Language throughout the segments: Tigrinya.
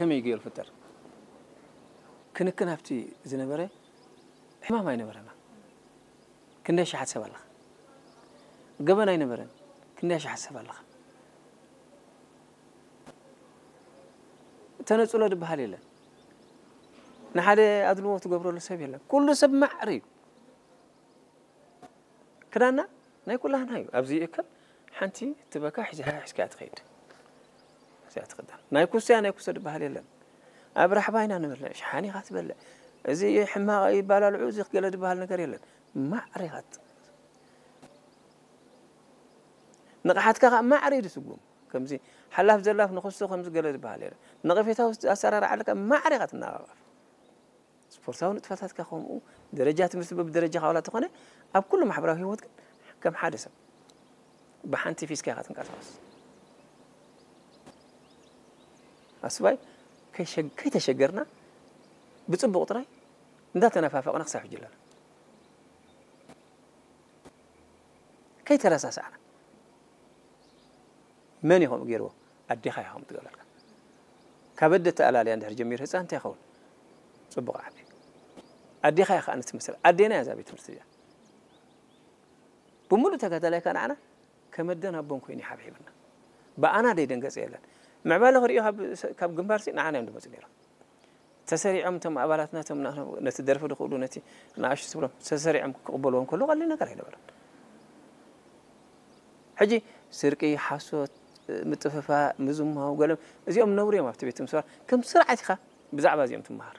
ከመይ ገይሩ ፍጠር? ክንክን ኣብቲ ዝነበረ ሕማም ኣይነበረና። ክንደይ ሸሓት ሰብ ኣለኻ? ገበን ኣይነበረን። ክንደይ ሸሓት ሰብ ኣለኻ? ተነጽሎ ዝበሃል የለን። ንሓደ ኣድልዎ ትገብረሉ ሰብ የለን። ኩሉ ሰብ ማዕረ እዩ። ክዳና ናይ ኩላህና እዩ። ኣብዚ ይእከብ ሓንቲ ትበካ ሒዝካ ሒዝካ ትኸይድ። እዚኣ ትኽዳን። ናይ ኩስያ ናይ ኩሶ ዝበሃል የለን። ኣብ ራሕባ ኢና ንበልዕ፣ ሸሓኒ ኢኻ ትበልዕ። እዚ ሕማቕ ይባላልዑ፣ እዚ ገለ ዝበሃል ነገር የለን። ማዕረ ኢኻ ት-፣ ንቕሓትካ ኸዓ ማዕረ እዩ ዝስጉም። ከምዚ ሓላፍ ዘላፍ ንኽሱ ከምዚ ገለ ዝበሃል የለን። ነቐፌታዊ ኣሰራርዓ ኣለካ፣ ማዕረ ኢኻ ትነቓቐፍ። ስፖርታዊ ንጥፈታትካ ከምኡ፣ ደረጃ ትምህርቲ በብደረጃኻ ዋላ ተኾነ፣ ኣብ ኩሉ ማሕበራዊ ህይወት ግን ከም ሓደ ሰብ ብሓንቲ ፊስካ ኢኻ ትንቀሳቐስ። ኣስባይ ከይሸግ-፣ ከይተሸገርና ብጽቡቕ ጥራይ እንዳተነፋፈቕና ክሳብ ሕጂ ኣለና። ከይተረሳሳዕና። መን እዩ ከምኡ ገይርዎ? ኣዴኻ እያ ከምኡ ትገብረልካ። ካብ ኣደ ተኣላልያ እንድሕር ጀሚሩ ህፃን እንታይ ይኸውን? ጽቡቕ ዓቢ። ኣዴኻ እያ ከኣ ንትመስል። ኣዴና እያ እዛ ቤት ትምህርቲ እዚኣ። ብምሉእ ተጋዳላይ ከኣ ንዓና ከም ኣደን ኣቦን ኮይኑ ይሓብሒብና። ብኣና ደይደንገጸ የለን። ምዕባለ ክርእዮ ካብ፣ ካብ ግንባርሲ ንዓና እዮም ዝመጹ ነይሮም። ተሰሪዖም እቶም ኣባላትና፣ እቶም ና-፣ ነቲ ደርፊ ዝኽእሉ፣ ነቲ ንኣሽቱ ዝብሎም ተሰሪዖም ክቕበልዎም ከለዉ ቀሊል ነገር ኣይነበረን። ሕጂ ስርቂ፣ ሓሶት፣ ምጥፍፋእ፣ ምዝማው፣ ገለ እዚኦም ነውሪ እዮም ኣብቲ ቤት ትምህርቲ። ከም ስርዓት ኢኻ ብዛዕባ እዚኦም ትመሃር።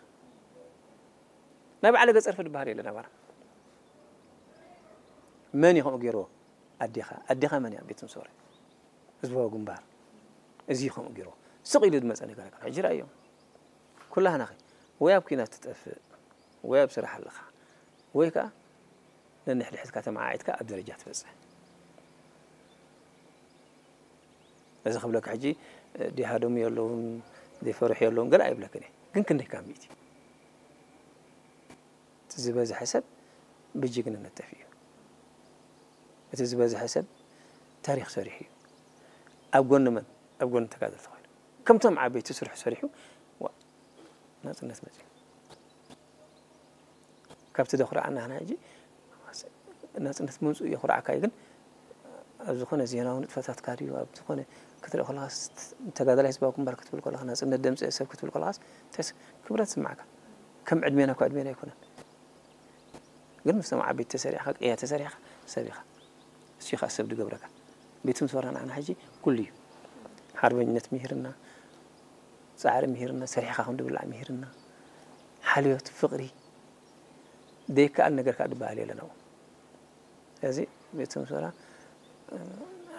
ናይ በዓል ገጸርፊ ዝበሃል የለን ኣባና። መን እዩ ከምኡ ገይርዎ? ኣዴኻ። ኣዴኻ መን እያ? ቤት ትምህርቲ ወረ ህዝባዊ ግንባር። እዚ እዩ ከምኡ ገይርዎ። ስቕ ኢሉ ዝመጸ ነገር ኣይኮነን። ሕጂ ረኣዮም። ኩላህናኸ ወይ ኣብ ኲናት ትጠፍእ፣ ወይ ኣብ ስራሕ ኣለኻ፣ ወይ ከኣ ነንሕድሕድካ ተመዓዒድካ ኣብ ደረጃ ትበጽሕ። እዚ ክብለካ ሕጂ፣ እ፣ ዲሃደሙ የለውን፣ ዘይፈርሑ የለውን፣ ገለ ኣይብለክን እየ። ግን ክንደይ ካብ ሚእቲ? እቲ ዝበዝሐ ሰብ ብጅግንነት ጠፊኡ እዩ። እቲ ዝበዝሐ ሰብ ታሪኽ ሰሪሑ እዩ። ኣብ ጎኒ መን? ኣብ ጎኒ ተጋደልቲ ኮይኑ። ከምቶም ዓበይቲ ስርሑ ሰሪሑ፣ ዋ፣ ናጽነት መጽዩ። ካብቲ ዘኹርዓና ንሕና ሕጂ ናጽነት ምምጽኡ የኹርዓካ እዩ፣ ግን ኣብ ዝኾነ ዜናዊ ንጥፈታትካ ድዩ፣ ኣብ ዝኾነ ክትርኢ ከለኻስ፣ ተጋዳላይ ህዝባዊ ግንባር ክትብል ከለኻ፣ ናጽነት ደምጽ ሰብ ክትብል ከለኻስ፣ እንታይስ ክብረት ዝስምዓካ? ከም ዕድሜና እኮ ዕድሜና ኣይኮነን። ግን ምስቶም ዓበይቲ ተሰሪዕኻ፣ ቅያ ተሰሪዕኻ ሰብ ኢኻ። እሱ እዩ ኸዓ ሰብ ዝገብረካ። ቤት ትምህርቲ ወረ ንዓና ሕጂ ኩሉ እዩ። ሓርበኝነት ምሂርና፣ ጻዕሪ ምሂርና፣ ሰሪሕኻ ከም ዝብላዕ ምሂርና፣ ሓልዮት፣ ፍቕሪ፣ ዘይከኣል ነገር ከኣ ዝበሃል የለን ኣብኡ። ስለዚ ቤት ትምህርቲ ወረ፣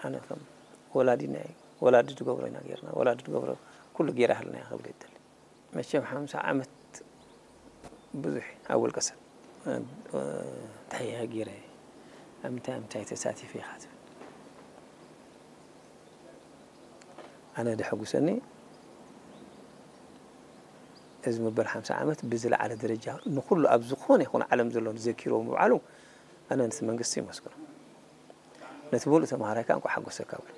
ኣነ ከም ወላዲና እዩ። ወላዲ ዝገብሮ ኢና ጌርና፣ ወላዲ ዝገብሮ ኩሉ ጌራ ሃልና እያ ክብል ይደሊ። መቸም ሓምሳ ዓመት ብዙሕ ኣብ ውልቀ ሰብ፣ እ፣ እንታይ እየ ገይረ፣ ኣብ ምንታይ፣ ኣብ ምንታይ ተሳቲፈ ኢኻ ትብል። ኣነ ደሐጉሰኒ እዚ መበል ሓምሳ ዓመት ብዝለዓለ ደረጃ ንኹሉ ኣብ ዝኾነ ይኹን ዓለም ዘሎ ዘኪርዎ ምውዓሉ፣ ኣነ ነቲ መንግስቲ ይመስግኖ። ነቲ ምሉእ ተምሃራይ ከኣ እንኳዕ ሓጎሰካ ብሎ።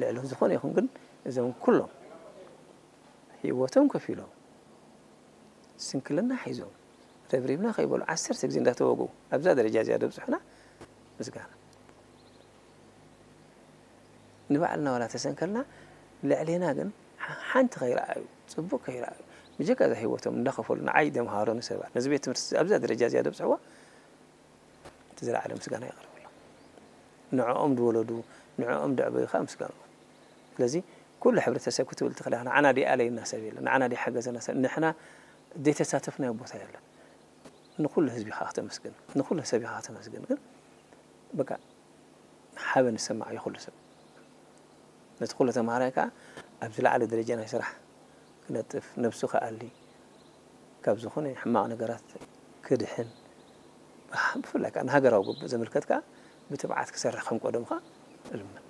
ልዕሊ ዝኾነ ይኹን ግን እዞም ኩሎም ህይወቶም ከፊሎም ስንክልና ሒዞም ረብሪብና ከይበሉ ዓሰርተ ግዜ እንዳተወግኡ ኣብዛ ደረጃ እዚኣ ዘብጽሑና ምስጋና። ንባዕልና ዋላ ተሰንከልና ልዕሌና ግን ሓ-፣ ሓንቲ ከይረኣዩ፣ ጽቡቕ ከይረኣዩ፣ ብጀካ እዛ ህይወቶም እንዳኸፈሉ ንዓይ ዘምሃሩኒ ሰባት፣ ነዚ ቤት ትምህርቲ ኣብዚ ኣብዛ ደረጃ እዚኣ ዘብጽሕዋ እቲ ዝለዓለ ምስጋና የቕርበሎም። ንዕኦም ዝወለዱ፣ ንዕኦም ዘዕበዩ ከኣ ምስጋንኦም። ስለዚ ኩሉ ሕብረተሰብ ክትብል ትኽእል ኢኻ። ንዓና ደይኣለየና ሰብ የለን፣ ንዓና ደይሓገዘና ሰብ፣ ንሕና ዘይተሳተፍናዮ ቦታ የለን። ንኹሉ ህዝቢ ኢኻ ክተመስግን፣ ንኹሉ ሰብ ኢኻ ክተመስግን። ግን በቃ ሓበን ዝሰማዕ እዩ ኩሉ ሰብ። ነቲ ኩሉ ተምሃራይ ከኣ ኣብ ዝለዓለ ደረጃ ናይ ስራሕ ክነጥፍ፣ ነብሱ ክኣሊ፣ ካብ ዝኾነ ሕማቕ ነገራት ክድሕን፣ ብሓ-፣ ብፍላይ ከኣ ንሃገራዊ ግቡእ ዘመልከት ከኣ ብትብዓት ክሰርሕ ከም ቀደሙ ከኣ እልምን።